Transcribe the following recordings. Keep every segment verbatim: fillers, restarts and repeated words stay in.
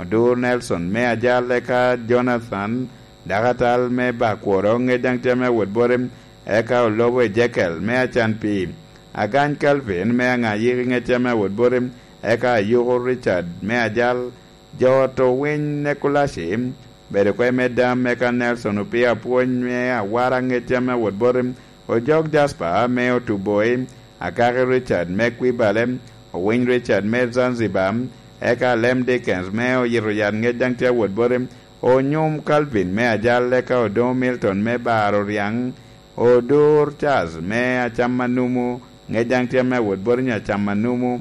Odur Nelson me Ajal, eka Jonathan dakatal me Bakworo, ŋec daŋ tye me wot boti, eka Olobo Ejekel me Acan Pii, Agany Calvin me Aŋayiki, ŋec tye me wot boti, eka Ayuku Richard me Ajal, jo oto winy Nekulaci, bedo kwe me dam, eka Nelson Opio Apwony me Awara, ŋec tye me wot boti, Ojok Jasper me Otuboi, Akaki Richard me Kwibale, Owiny Richard me Zanzibar, eka Alem Dickens me Oyito Yat, ŋec daŋ tye awot boti, Onyum Calvin me Ajal, eka Odoŋo Milton me Baro Ryaŋ, Odur Charles me Acam Anumu, ŋec daŋ tye me awot boti nyo Acam Anumu,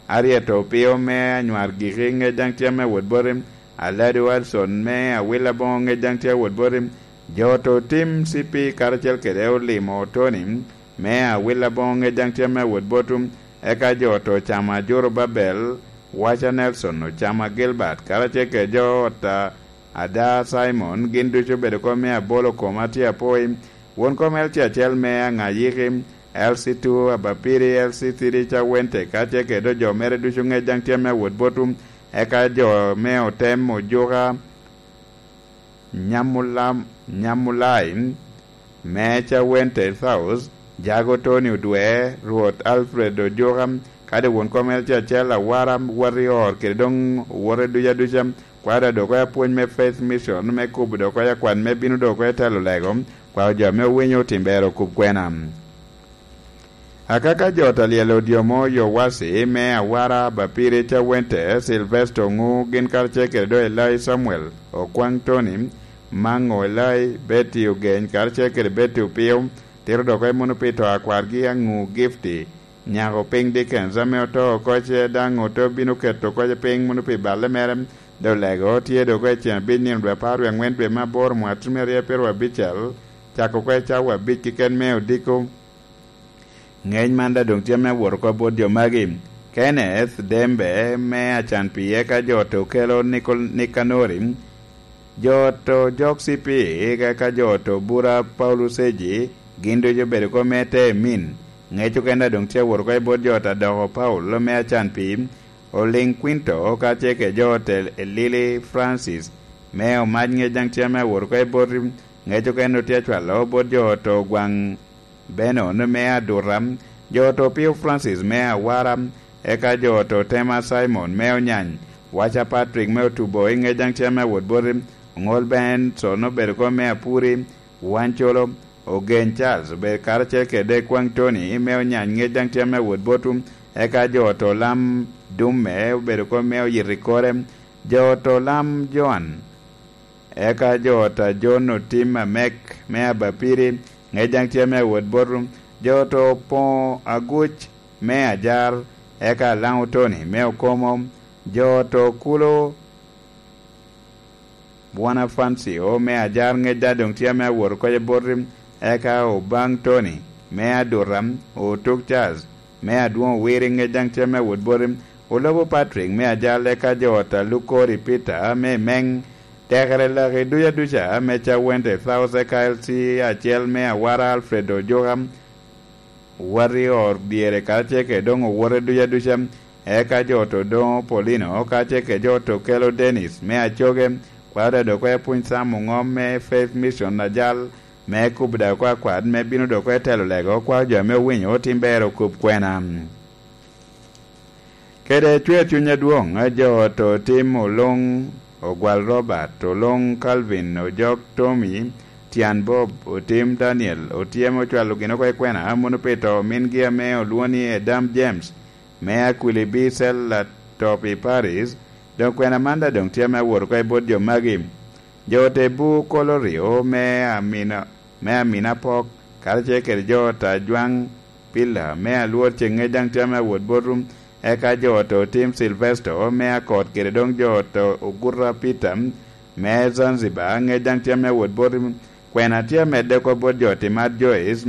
Aryeto Opio me Anywar Giki, ŋec daŋ tye me awot boti, Aladi Watson me Awil Aboŋo, ŋec daŋ tye awot boti, jo oto tim C P karacel kede Olimo Tony me Awil Aboŋo, ŋec daŋ tye me awot boti, eka jo oto Ocamo Ajuru Babel, Waca Nelson, Ocamo Gilbert, karacel kede jo ot a Ada Simon, gin ducu obedo kop me abolo koma tye apoi. Won kom L C acel me Aŋayiki, L C two Abapiri, L C three Cawente, ka tye kede jo mere ducu ŋec daŋ tye me awot boti, eka jo me otem Ojuka, Nyamulam-, Nyamulai, me Cawente South, Jago Tony Odwe, Rwot Alfred Ojuka, kadi won kom L C acel Awara, Warrior, kede doŋ owote ducu aduca. Kwaro dok oko apwony me Faith Mission me kubo dok oko akwan me bino dok oko i telo lego, kwaro jo ame owinyo otim ber okub kwena. Akaka jo Talyel Odyomo, Yowasi me Awara, Bapiri Cawente, Silvesto Ŋu, gin karacel kede do Elai Samuel, Okwaŋ Tony, Maŋo Elai, Betty Ogeny, karacel kede Betty Opio, tito dok oko i muno pi to a kwargi Aŋu Gifty, nyako piny Dickens ame oto oko ce daŋ ote bino keto oko piny muno pi balle mere, dok lego tye dok oko i ceng abic nino dwe apar wie aŋwen dwe me aboro mwaka tutumia aryo pyeraryo abicel, cako oko i cawa abic keken me odiko. Ŋec man daŋ doŋ tye me wot oko bot jo magi. Kenneth Dembe me Acan Pii, eka jo oto kelo Nikol-, Nikanori, jo oto Jok C P, eka jo oto Bura Paulus Eji, gin ducu obedo oko me te min. Ŋec okene daŋ doŋ tye wot oko i bot jo oto Adoko Paulo me Acan Pii, Oliŋ Kwinto, ka tye kede jo oto Elili Francis, me Omac, ŋec daŋ tye me wot oko i bot. Ŋec okene tye acwalo bot jo oto Gwaŋ Benon me Aduta, jo oto Pio Francis me Awara, eka jo oto Tema Simon me Onyany, Waca Patrick me Otubo, i ŋec daŋ tye me wot boti, Oŋol Benson obedo oko me Apuri, Wancolo, Ogeny Charles obedo karacel kede Kwaŋ Tony me Onyany, ŋec daŋ tye me wot boti, eka jo oto Lam Dumme obedo oko me Oyito i Kore, jo oto Lam Joan, eka jo ot a Jon Otim Amek me Abapiri, ŋec daŋ tye me awot bot. Jo oto Opoŋo Aguc me Ajar, eka Alaŋo Tony me Okomo, jo oto Kulo Bwanafancio me Ajar, ŋec daŋ doŋ tye me awot oko i boti, eka Obaŋ Tony me Aduta, Otuk Charles me Adwoŋ Owiri, ŋec daŋ tye me wot boti, Olobo Patrick me Ajal, eka jo ot a Lukori Peter me Meŋ, tekere laki duca duca me Cawente South, eka L C acel me Awara Alfred Ojuka, Warrior dyere karacel kede doŋ owote duca duca, eka jo ot Odoŋo Paulino karacel kede jo ot Okelo Dennis me Acoge, kwaro dok oko i apwony Sam Oŋom me Faith Mission Ajal, me kubo dok oko akwat me bino dok oko i telo lego, kwaro jo ame owinyo otim ber okub kwena. Kede cwer cuny adwoŋ, jo oto Otim Oluŋ, Ogwal Robert, Oluŋ Calvin, Ojok Tommy, Tyan Bob, Otim Daniel, Otyem ocwalo gin oko i kwena, amono pi to mingi ame olwoŋo ni Edam James, me Akwili B Cell Latopi Paris, doŋ kwena man daŋ doŋ tye ame awot oko i bot jo magi. Jo ote bu Kolorio me Amina, me Amina Pok, karacel kede jo ot Ajwaŋ Pilla me Alwor Ceŋŋec daŋ tye ame awot bot rum, eka jo ot Otim Silvesto me Akot kede doŋ jo ot Oguta Peter me Zanzibar ŋec daŋ tye ame awot bot rum. Kwena tye amedde oko bot jo ot Imat Joyce,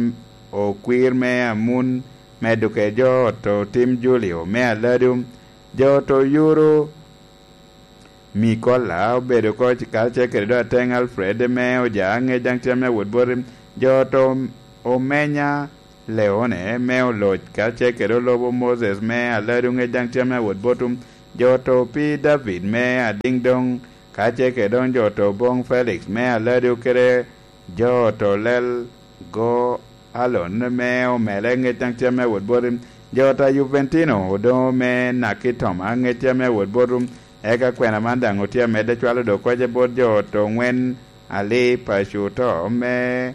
Okwir me Amun, medo kede jo ot Otim Julio me Aladu, jo ot Oyuru Mikola obedo oko karacel kede do Ateŋ Alfred me Oja, ŋec daŋ tye ame awot boti, jo ot Omenya Leone me Oloc, karacel kede Olobo Moses me Aladu, ŋec daŋ tye ame awot boti, jo oto pi David me Adiŋdoŋ, ka ce kede doŋ jo oto boŋ Felix me Aladu kede jo oto lel go Alon me omele ŋec daŋ tye ame wot boti. Jo oto a Juventino odoŋo me Nakitoma ŋec tye ame wot boti. Eka kwena man daŋ otye amedde cwalo dok koc bot jo oto ŋwen Ali Pacuto me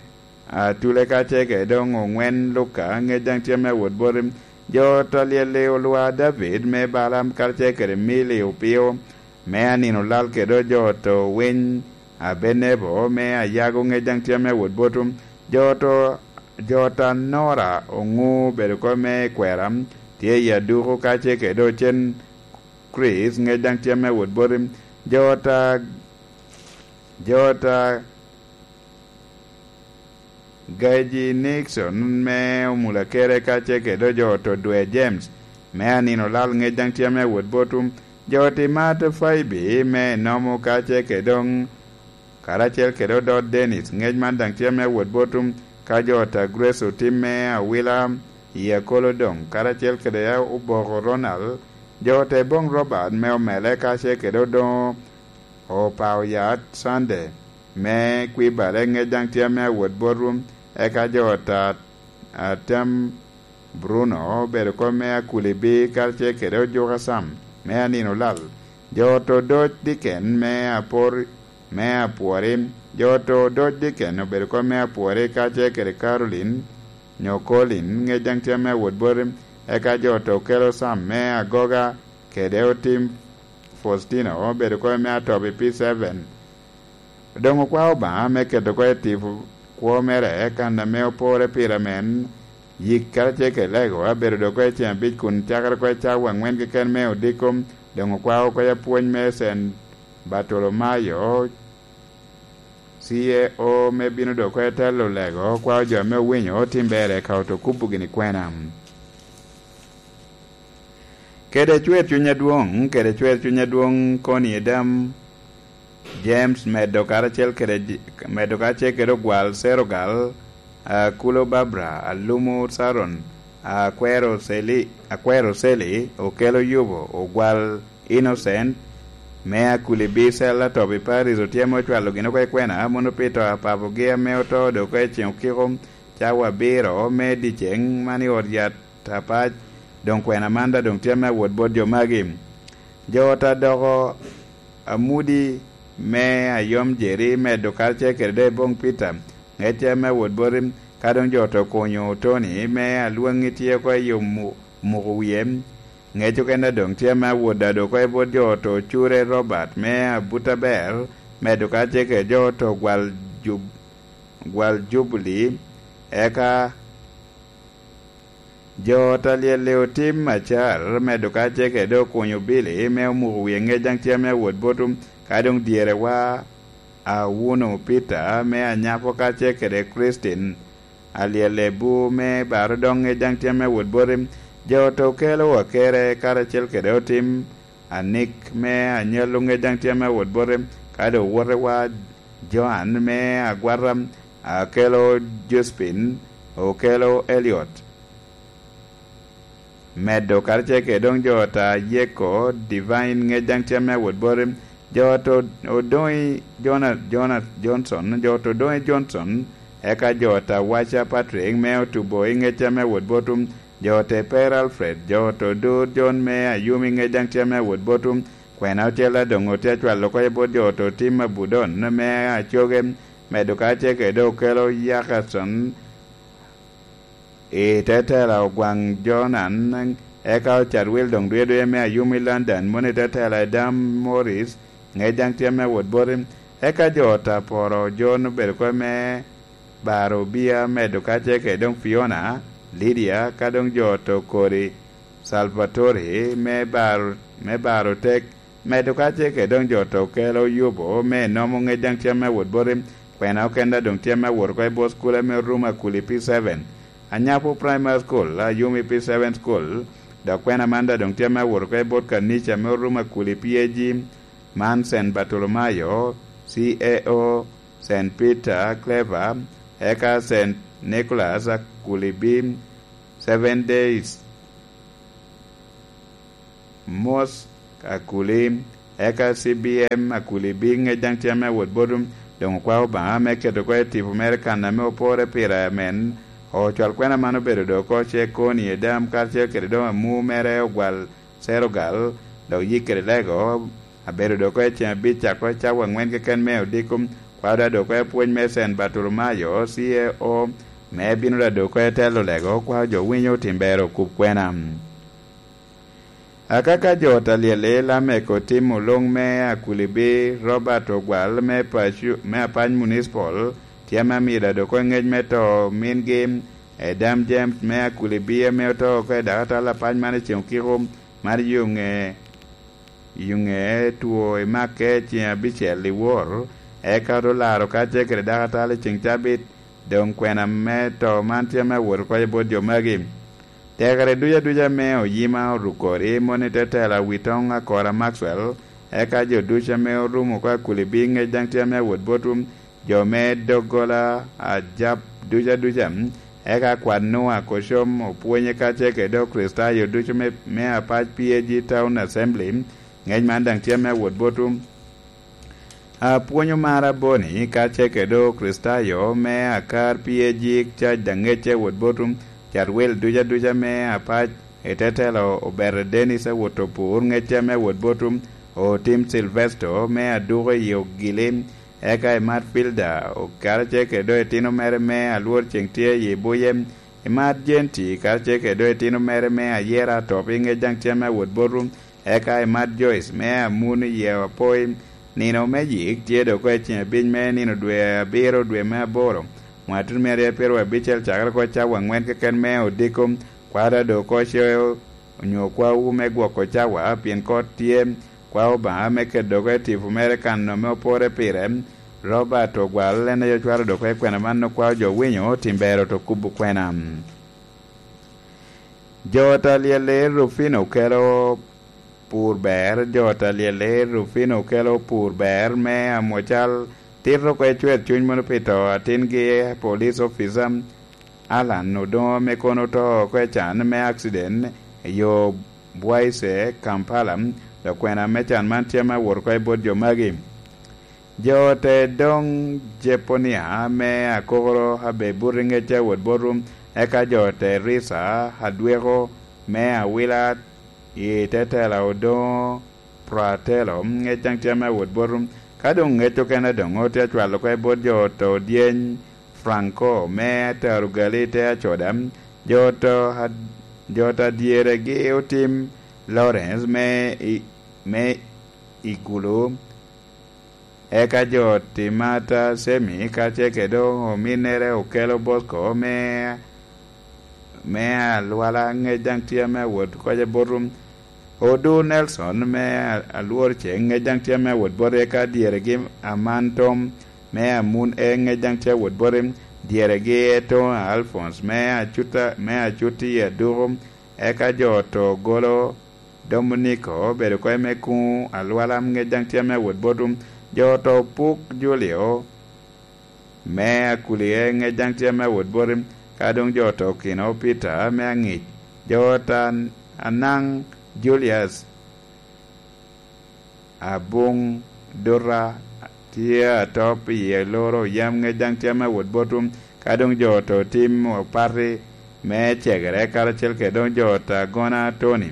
Atule ka ce kede doŋ oŋwen Luka ŋec daŋ tye ame wot boti. Jo oto lyel-li olwa David me Balaam karacel kede Mili opio me anino lal kede jo oto winy Abenebo me Ayago ŋec daŋ tye ame wot boti. Jo oto, jo oto Anora oŋu bedo kop me kwera tye i aduku ka ce kede ocen Chris ŋec daŋ tye ame wot boti. Jo oto, jo oto Gaji Nixon me Omulakere ka ce kede jo oto Dwe James me anino lal ŋec daŋ tye ame wot boti. Jo oto Imat Faibi me Enomo ka ce kede doŋ karacel kede odot Dennis ŋec man daŋ tye ame wot boti. Ka jo oto Grace otim me awila i akolo doŋ karacel kede oboko Ronald, jo oto Eboŋ Robert me omele ka ce kede odoŋo opao yat Sunday me kwibare ŋec daŋ tye ame awot botwu. Eka jo ata, atem Bruno obedo kop me Akulibi karacel kede ojuka Sam me anino lal. Jo oto Doc Diken me apor, me apwori. Jo oto Doc Diken obedo kop me apwori karacel kede Caroline nyo Colin ŋec daŋ tye ame awot boti. Eka jo oto kelo Sam me agoga kede otim Faustino obedo kop me atobi P seven. Doŋ okwao Obaŋa me keto oko i tipo kwo mere kan ame opore pire amen, yik karacel kede lego abedo doŋ oko i ceŋ abic kun cakere oko i cawa aŋwen keken me odiko. Doŋ okwao oko i apwony me Saint Bartolomayo, C A O me bino doŋ oko i telo lego, okwao jo ame owinyo otim ber eka oto kubo gini kwena. Kede cwer cuny adwoŋ, kede cwer cuny adwoŋ koni edam, James medo karacel kede, medo karacel kede ogwal Serogal, Akulo Babra, Alumo Saron, Akwero Seli, Akwero Seli, Okelo Yubo, Ogwal Innocent, me Akulibi Sella Tobi Paris otyemo ocwalo gin oko i kwena, mono pi to a papogi ame oto doŋ oko i ceŋ okiko, cawa abiro me dyeceŋ man i ot yat apac, doŋ kwena man daŋ doŋ tye me awot bot jo magi. Jo ot adoko Amudi me Ayom Jeri medo karacel kede doŋ Eboŋ Peter, ŋec tye me awot boti, ka doŋ jo oto okunyo Tony me Alwaŋi tye oko i yo mu-, muko wie, ŋec okene doŋ tye me awot a doŋ oko i bot jo oto Ocure Robert me Abutaber, medo karacel kede jo oto gwal jub-, gwal Jubili, eka jo ot alyel-li otim acar, medo karacel kede doŋ okunyo Billy me omuko wie ŋec daŋ tye me awot boti, ka doŋ dyerewa Awuno Peter me Anyapo karacel kede Christine alyel-li bu me baro doŋ ŋec daŋ tye me awot boti. Jo ot okelo Akere karacel kede otim Anik me Anyallo ŋec daŋ tye me awot boti, ka doŋ owotewa Joan me Agwata, Akelo Josephine, Okelo Elliot. Medo karacel kede doŋ jo ot a Yeko Divine ŋec daŋ tye me awot boti. Jo ot o-, odoŋi Jona-, Jona-, Johnson, jo ot odoŋi Johnson, eka jo ot a Waca Patrick me Otubo i ŋec tye me awot boti. Jo ote Per Alfred, jo oto Dur John me Ayumi ŋec daŋ tye me awot botwu. Kwena ocel a doŋ otye acwalo oko i bot jo oto Tim Abudon me Acoge, medo karacel kede Okelo Yakason i te tela Ogwaŋ Jonan, eka Ocat Wil doŋ dwedwe me Ayumi London, mono i te tela Edam Morris, ŋec daŋ tye me awot boti. Eka jo oto Aporo John obedo kop me baro Obia, medo karacel kede doŋ Fiona, Lydia, ka doŋ jo oto Kodi, Salvatore, me baro, me baro tek, medo karacel kede doŋ jo oto Okelo Yubo, me Enomo ŋec daŋ tye me awot boti, kwena okene doŋ tye me awot oko i bot cukul ame Ruma Kuli P seven, Anyapo Primary School, Ayumi P seven School, dok kwena man daŋ doŋ tye me awot oko i bot kanica ame Ruma Kuli P A G, man Saint Bartolomayo, C A O, Saint Peter Clever, eka Saint Nicholas Akulibi, Seven Days Mos-, Akuli, eka C B M Akuli bi ŋec daŋ tye ame awot bot doŋ okwao Obaŋa me keto oko i tipo mere kan ame opore pire amen. Ocwal kwena man obedo dok oko ce koni i dam karacel kede doŋ amu mere ogwal Serogal, dok yik kede lego, abedo dok oko i ceŋ abic cako i cawa aŋwen keken me odiko, kwao da dok oko i pwony me Sen Bartolomayo, C A O, me bino da dok oko i telo lego, kwao jo winyo otim bero kub kwena. Akaka jo talyel i Lamek otimo luŋ me Akulibi, Robert Ogwal me Pacu-, me Apany Municipal, tye ame amido adoko i ŋec me to mingi, Edam James me Akulibi ame oto oko i dakatal apany man i ceŋ okiko mar yuŋe, yuŋe two i Makke ceŋ abicel i wor, eka ote laro kacel kede dakatal i ceŋ cabit, doŋ kwena me to man tye ame awot oko i bot jo magi. Tekere duc aduca me oyima oruko i moni tetela Witoŋ Akora Maxwell, eka jo ducu ame orumo oko Akuli bi ŋec daŋ tye ame awot botwu, jo me doggola Ajab duc aduca, eka kwat Nua Kocom opwonye kacel kede Okricitayo ducu me, me apac P A G Town Assembly, ŋec man daŋ tye ame awot botwu. Apwonyo mar aboni, kacel kede Okricitayo me akar P A G cac daŋ ŋecce wot botum, cat wil duc aduca me apac, i te telo Obere Dennis awot opur ŋecce me wot botum, otim Silvesto me aduko i Ogili, eka i Matfilda, karacel kede doŋ itino mere me alwor ceŋ tye i Buye, i Mat Jenti, karacel kede doŋ itino mere me ayera atop i ŋec daŋ tye me wot botum, eka i Mat Joyce me amun i yie apoi. Nino me yik tye dok oko i ceŋ abic me nino dwe abiro dwe me aboro, mwatun me aryo pyeraryo abicel cakere oko cawa aŋwen keken me odiko, kwada dok oko ce onyo kwawu me gwoko cawa, pien kot tye, kwao Obaŋa me keto dok oko i tipo mere kan ame opore pire. Robert Ogwal en aye ocwalo dok oko i kwena man okwao jo winyo tim bero to kubo kwena. Jo talyel i Rufino kelo pur ber, jo talyel i Rufino kelo pur ber me amocal tito oko i cwer cuny mono pi to atingi police officer Alan Odoŋo ame kono oto oko i can me accident i yo Bwaise, Kampala, dok kwena me can man tye ame awot oko i bot jo magi. Jo te doŋ Jeponia me akokoro abe buto i ŋecce awot botwu, eka jo te Rica adweko me awila i te tela Odoŋo Pratelo, ŋec daŋ tye ame awot botwu. Ka doŋ ŋec okene doŋ otye acwalo oko i bot jo to dyeny Franco me Tarugali te Acoda, jo to ad-, jo to adyeregi otim Lawrence me i-, me Igulu, eka jo Timata Semi kacel kede ominnere okelo Bosco me, me Alwala ŋec daŋ tye ame awot koc abotum. Odu Nelson me Alwor Ceŋ ŋec daŋ tye ame awot bot, eka dyeregi Aman Tom me Amun E ŋec daŋ tye awot bot, dyeregi Etona Alphonse me Acuta, me Acuti Aduko, eka jo to golo Dominiko obedo kwo me kuŋ Alwala ŋec daŋ tye ame awot bot, jo to Puk Julio me Akulie ŋec daŋ tye ame awot bot, ka doŋ jo to Kino Peter me Aŋic, jo ta Anaŋ Julius Abuŋ Dota tye atop i loro yam ŋec daŋ tye ame awot botwu, ka doŋ jo to Tim Opati me Cegere karacel kede doŋ jo ta Gona Tony,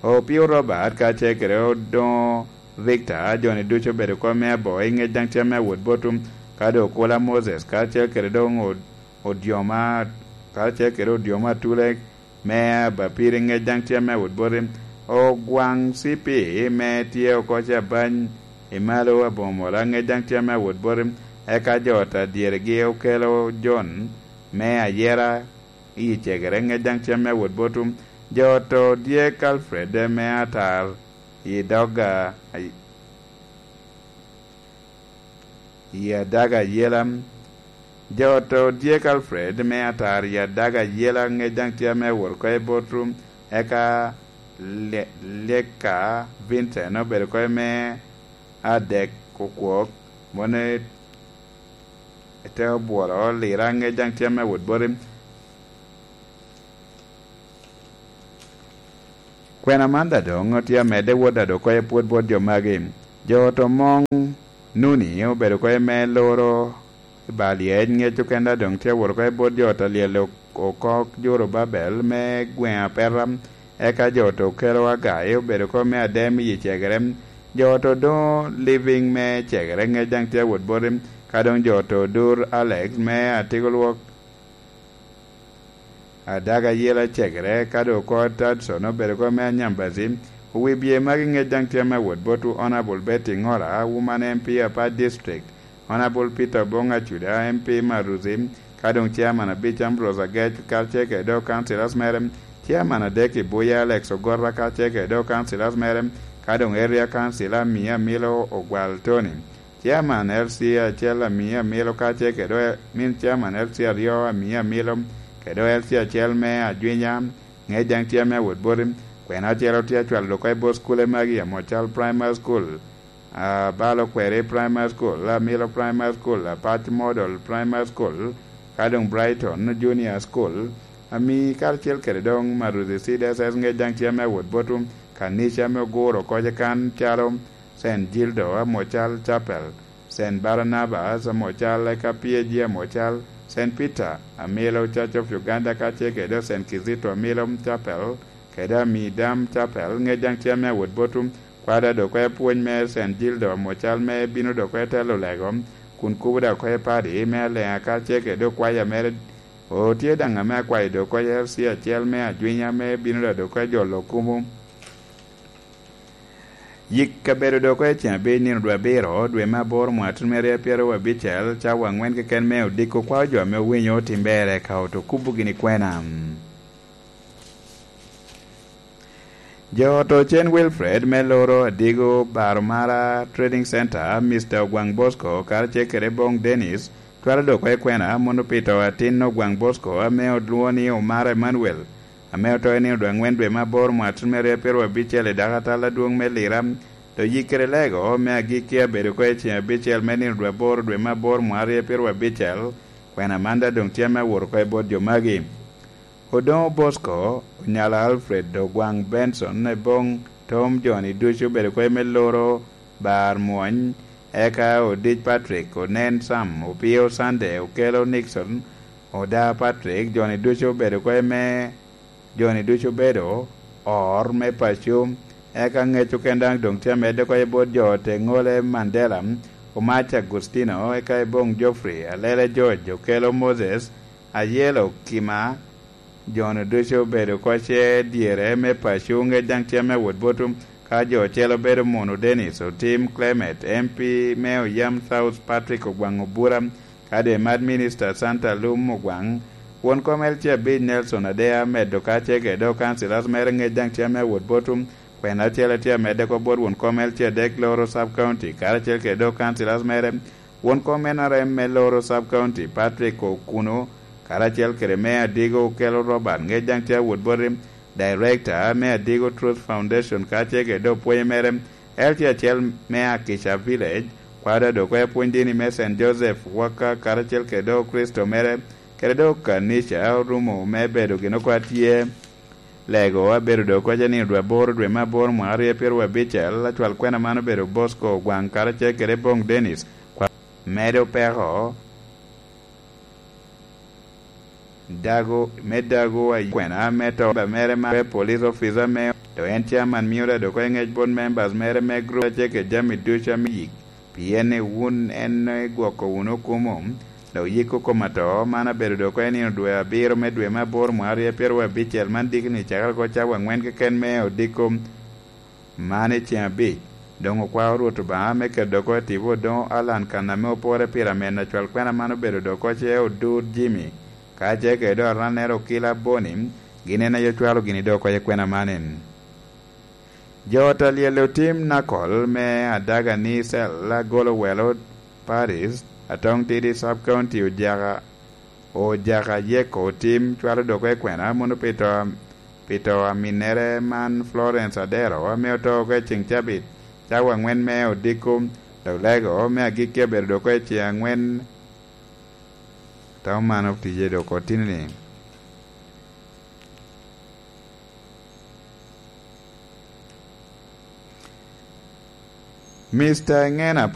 Opio Robert kacel kede Odoŋo Victor, jo-ni ducu obedo kop me aboŋo i ŋec daŋ tye ame awot botwu, ka doŋ Okola Moses karacel kede doŋ Od-, Odyoma, karacel kede Odyoma Atule me Abapiri ŋec daŋ tye ame awot boti, Ogwaŋ C P me tye oko Cabany i malo Aboŋo Mola ŋec daŋ tye ame awot boti, eka jo ta dyeregi okelo John me Ayera i Cegere ŋec daŋ tye ame awot botwu, jo to dyek Alfred me Atar i dog a-, i adaga ayela. Jo to dyek Alfred me Atar i adaga ayela ŋec daŋ tye ame awot oko i botwu, eka Lye-, Lyeka Vincent obedo oko me adek okwok, mone te obwolo Lira ŋec daŋ tye ame awot boti. Kwena man daŋ doŋ tye amedde wot daŋ doŋ oko i pwod bot jo magi. Jo ot omoŋ Nuni obedo oko i me loro i ba lyec, ŋec okene daŋ doŋ tye awot oko i bot jo ot a lyel ok-, oko Jorubabel me gweŋ Apeta, eka jo ot okelo Agai obedo oko me adem i cegere. Jo ot odoŋo Living me cegere, ŋec daŋ tye awot boti, ka doŋ jo ot odur Alex me atiko lwok Adaga Yela cegere, ka doŋ oko Tadson obedo oko me Anyambazi. Wi bye magi ŋec daŋ tye me wot botwu Honourable Betty Ngora, Woman M P Apaa District, Honourable Peter Obong Acuda, M P Maruzi, ka doŋ Chairman abic Ambrose Agec, karacel kede doŋ councillors mere, Chairman adek i Buya Alex Ogota, karacel kede doŋ councillors mere, ka doŋ Area Councillor Amia Amilo Ogwal Tony. Chairman L C acel Amia Amilo, ka ce kede min Chairman L C aryo Amia Amilo, kede L C acel me Ajwinya, ŋec daŋ tye me awot boti. Kwena acel tye acwalo oko i bot skule magi, Amocal Primary School, Abalo Kweri Primary School, Amilo Primary School, Apac Model Primary School, ka doŋ Brighton Junior School, Ami karacel kede doŋ Maruzi C D S S, ŋec daŋ tye me awot botwu. Kanica me oguro oko kan calo Saint Gildo Amocal Chapel, Saint Barnabas Amocal, eka P A G Amocal, Saint Peter Amilo Church of Uganda, kacel kede Saint Kizito Amilo Chapel, kede Amidam Chapel, ŋec daŋ tye me awot botwu. Kwada doŋ oko i pwony me Saint Gildo Amocal me bino doŋ oko i telo lego, kun kubo doŋ oko i padi me Aleŋa, kacel kede okwaya mere. O, tye daŋ ame akwayo doŋ oko i L C acel me Ajwinya me bino doŋ oko i jolo kubo. Yik kabedo doŋ oko i ceng abic nino dwe abiro, dwe me aboro, mwaka tun me rye pyeraryo abicel, cawa aŋwen keken me odiko, kwao jo ame owinyo otim ber eka oto kubo gini kwena. Jo ot Ocen Wilfred me loro Adigo Baromara Trading Center, Mister Ogwaŋ Bosco, karacel kede Bong Dennis, twero doŋ oko i kwena, mono pi to atin Ogwaŋ Bosco ame olwoŋo ni Omara Emmanuel, ame oto i nino dwe aŋwen dwe me aboro mwaka tun me rye pyeraryo abicel i dako atal adwoŋ me Lira. Doŋ yik kede lego me agikki abedo oko i ceng abicel me nino dwe aboro dwe me aboro mwaka rye pyeraryo abicel, kwena man daŋ doŋ tye ame awot oko i bot jo magi. Odoŋo Bosco, Onyala Alfred, Ogwaŋ Benson, Eboŋ Tom, jo-ni ducu obedo oko i me loro bar mwony, eka Odic Patrick, Onen Sam, Opio Sunday, Okelo Nixon, Oda Patrick, jo-ni ducu obedo oko i me, jo-ni ducu obedo or me paco, eka ŋec okene daŋ doŋ tye amedde oko i bot jo ot Eŋole Mandela, Omac Agustino, eka Eboŋ Geoffrey, Alele George, Okelo Moses, Ayelo Kima, jo-nu ducu obedo oko ce dyere me paco, ŋec daŋ tye me wot botwu. Ka jo ocel obedo Munu Dennis Otim Clement, M P me Oyam South, Patrick Ogwaŋ Obura, kadi Emat Minister Santa Lum Ogwaŋ, won kom L C abic Nelson Adea, medo ka ce kede doŋ councillors mere, ŋec daŋ tye me wot botwu. Kwena acel tye amedde oko bot won kom L C adek Loro Sub County, karacel kede doŋ councillors mere. Won kom N R M me Loro Sub County, Patrick Okuno, karacel kede Meya Adigo Okelo Robert, ŋec daŋ tye awot boti. Director me Adigo Truth Foundation, kacel kede doŋ pwony mere, L C acel me Akisha Village, kwada doŋ oko i pwony dini me Saint Joseph Waka, karacel kede doŋ Kricito mere, kede doŋ kanica orumo me bedo gin oko atye. Lego abedo doŋ oko i nino dwe aboro dwe me aboro mwaka rye pyeraryo abicel, acwal kwena man obedo Bosco Ogwaŋ karacel kede Bong Dennis, kwa-, medo peko dago, me dago a kwena me to ba mere ma police officer me, do en chairman mio da doŋ oko i ŋec bot members mere me group acel kede jami ducu ame yik. Pien ni wun en igwoko wunu kumo, dok yiko kom ato, man abedo doŋ oko i nino dwe abiro me dwe me aboro mwaka rye pyeraryo abicel, man dikni cakere oko cawa aŋwen keken me odiko man i ceng abic. Doŋ okwao Rwot Obaŋa me keto doŋ oko i tipo odoŋo Alan kan ame opore pire ameno acwal kwena man obedo doŋ oko ce odur Jimmy, ka ce kede doŋ arannere Okila Boni, gin en aye ocwalo gini doŋ oko i kwena man en. Jo ot a lyel otim Nakol me Adaga ni Cell agolo welo Paris, Atong Tidi Sub County, Ojaka, Ojaka Yeko otim cwalo doŋ oko i kwena mono pi to, pi to aminnere man Florence Adero ame oto oko i ceng cabit, cawa aŋwen me odiko, dok lego me agikki abedo doŋ oko i ceng aŋwen. Tam man otije doŋ oko tini ni. Mister Ngena